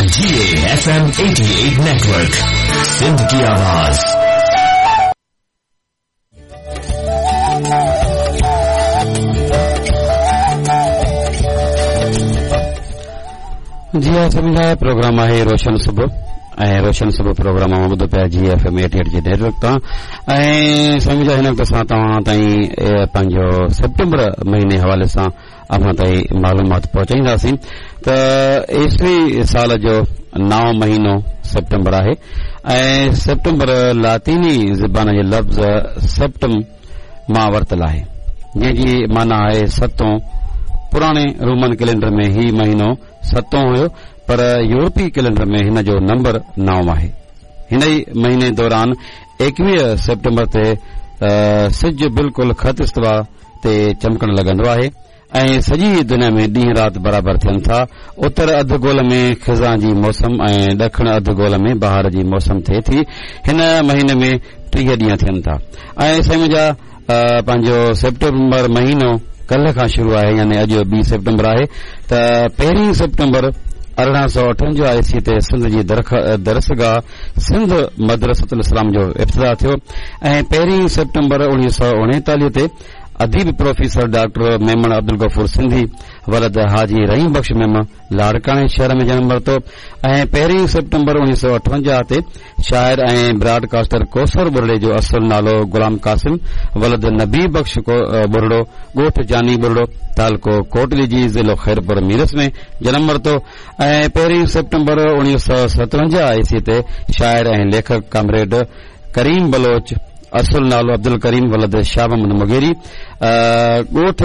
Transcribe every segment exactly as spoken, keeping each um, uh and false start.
G F M eighty eight network, Sindh की आवाज। जी हा सभिनी प्रोग्राम आहे रोशन सुबुह ऐं रोशन सुबुह प्रोग्राम मां ॿुधो पिया G F M eighty eight जे नेटवर्क तां। ऐं सम्झा हिन वक़्त असां तव्हां ताईं पंहिंजो सेप्टेम्बर महीने हवाले सां अव्हां ताईं मालूमात पहुचाईंदासीं। त ईस्वी साल जो नओं महीनो सेप्टेम्बर आहे ऐं सेप्टेम्बर लातीनी ज़बान जे लफ़्ज़ सेप्टम मां वरितल आहे, जंहिंजी माना आहे सतों। पुराणे रोमन कैलेंडर में ही महीनो सतों हुयो, पर यूरोपी कैलेंडर में हिन जो नंबर नओं आहे। हिन ई महीने दौरान एकवीह सेप्टेम्बर ते सिज बिल्कुल ख़त इस्तिवा ते चमकण लॻंदो आहे ऐं सॼी दुनिया में ॾींहुं राति बराबरि थियनि था। उत्तर अध गोल में ख़िज़ां जी मौसम ऐं ॾखिण अध गोल में बहार जी मौसम थिए थी। हिन महीने में टीह ॾींहं थियनि था। ऐं साईं जा पंहिंजो सेप्टेम्बर महीनो कल्ह खां शुरू आहे, यानी अॼु ॿी सेप्टेम्बर आहे। त पहिरीं सेप्टेम्बर अरिड़हं सौ अठवंजाह ईस्वी ते सिंध जी दरसगाह सिंध मदरसतुल इस्लाम जो इब्तिदा थियो ऐं पहिरीं सेप्टेम्बर उणिवीह सौ उणेतालीह ते अदीब प्रोफेसर डॉक्टर मेमण अब्दुल गफूर सिंधी वलद हाजी रहीम बख्श मेमण लाड़काणे शहर में जन्म वरितो ऐं पहिरीं सेप्टेम्बर उणिवीह सौ अठवंजाह ते शाइर ऐं ब्रॉडकास्टर कोसर बुरड़े जो असुल नालो गुलाम कासिम वलद नबी बख्श बुरड़ो ॻोठ जानी बुरड़ो तालको कोटली ज़िलो ख़ैरपुर मीरस में जन्म वरितो ऐं पहिरीं सेप्टेम्बर उणिवीह सौ सतवंजाह ईस्वी ते शाइर ऐं लेखक कामरेड करीम बलोच असुल नालो अब्दुल करीम वलद शाह मोहम्मद मुगेरी ॻोठ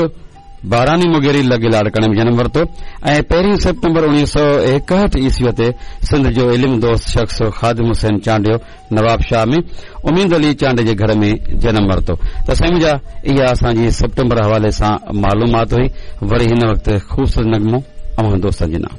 बारानी मुगेरी लॻे लाड़काणे में जन्म वरितो ऐं पहिरीं सेप्टेम्बर उणिवीह सौ एकहठि ईस्वीअ ते सिंध जो इल्म दोस्त शख़्स ख़ादिम हुसैन चांडियो नवाब शाह में उमीद अली चांडियो जे घर में जन्म वरितो। त साईं मुंहिंजा इहा असांजी सेप्टेम्बर हवाले सां मालूमात हुई। वरी हिन वक़्तु ख़ूबसूरत नग़मो अव्हां दोस्तनि जे नाम।